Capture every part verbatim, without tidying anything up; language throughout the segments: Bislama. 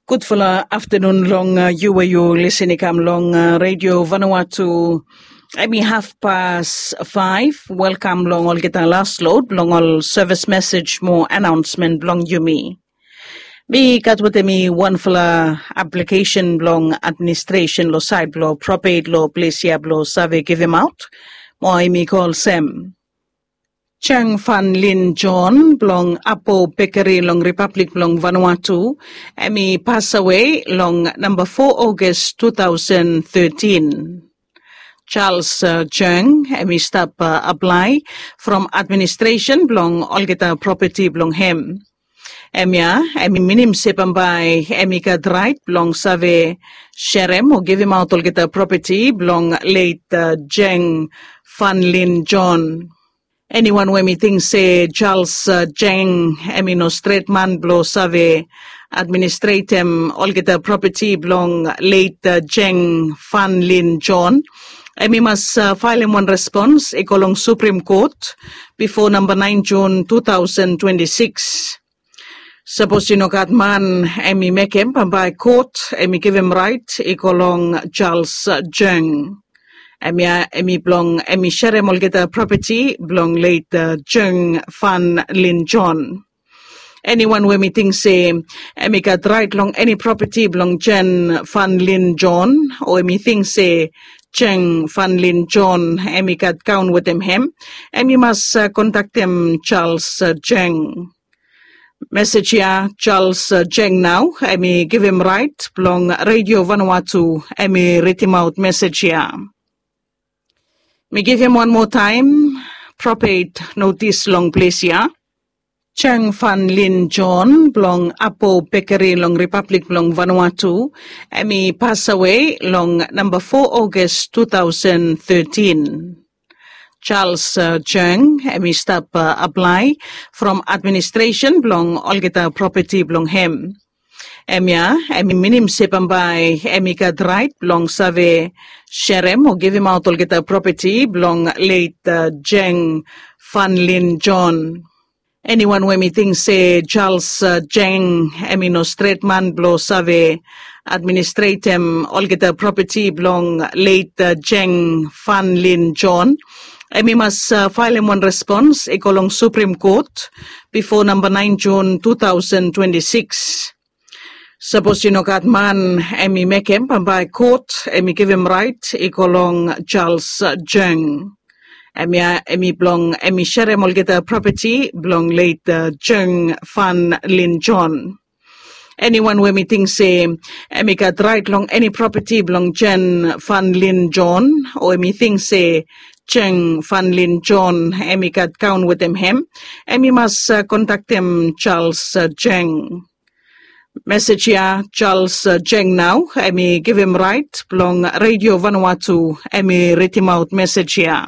Gudfala aftanun long yu we yu lisin i kam long redio Vanuatu. Em i hafpas faef. Welkam long olgeta las lod blong ol sevis mesej mo anaonsmen blong yumi. Mi gat wetem mi wanfala aplikesen blong administresen long sait blong propet long ples ya blong save givimaot. Mo em i go olsem, Cheng Fan Lin John blong Apo Bekeri long Ripablik blong Vanuatu, em i pasawe long namba fo August two thousand thirteen. Charles Cheng em i stap aplae from administresen blong olgeta propeti blong hem. Em ya em i minim se bambae em i gat rait blong save serem o givimaot olgeta propeti blong leit Cheng Fan Lin John. Eniwan we mi ting se Charles Cheng em i no stret man blong save administretem olgeta propeti blong leit Cheng Fan Lin John, em i mas faelem wan respons i go long Suprim Kot bifo namba naen Jun two thousand twenty six. Sapos i no gat man em i mekem, bambae kot em i givim rait i go long Charles Cheng. Em ya em i blong em i serem olgeta propeti blong leit Cheng Fan Lin John. Eniwan we mi ting se em i gat rait long eni propeti blong Cheng Fan Lin John, o em i ting se Cheng Fan Lin John em i gat kaon wetem hem, em i mas kontaktem Charles Cheng. Mesej ya Charles Cheng nao em i givim rait blong redio Vanuatu em i ridimaot mesej ya. Mi givim wan moa taem propet notis long ples ya. Cheng Fan Lin John blong Apo Bekeri long Ripablik blong Vanuatu, em i pasawe long namba fo August two thousand thirteen. Charles Cheng em i stap aplae from administresen blong olgeta propeti blong hem. Em ya em i minim se bambae em i gat rait blong save serem o givimaot olgeta propeti blong leit Cheng Fan Lin John. Eniwan we mi ting se Charles Cheng em i no stret man blong save administretem olgeta propeti blong leit Cheng Fan Lin John, em i mas faelem wan respons i go long Suprim Kot bifo namba naen Jun two thousand twenty six. Sapos i no gat man em i mekem, bambae kot em i givim rait i go long Charles Cheng. Em ya em i blong em i serem olgeta propeti blong leit Cheng Fan Lin John. Eniwan we mi ting se em i gat rait long eni propeti blong Cheng Fan Lin John, o em i ting se Cheng Fan Lin John em i gat kaon wetem hem, em i mas kontaktem Charles Cheng. Mesej ya Charles Cheng nao em i givim rait blong redio Vanuatu em i ridimaot mesej ya.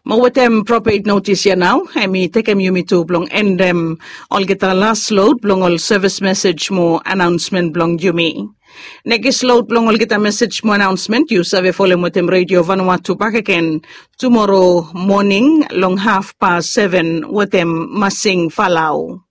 Mo wetem propet notis ya nao em i tekem yumi tu blong endem olgeta las lod blong ol sevis mesej mo anaonsmen blong yumi. Nekis lod blong olgeta mesej mo anaonsmen yu save folem wetem redio Vanuatu bakegen tumoro moning long hafpas seven wetem Masing Falau.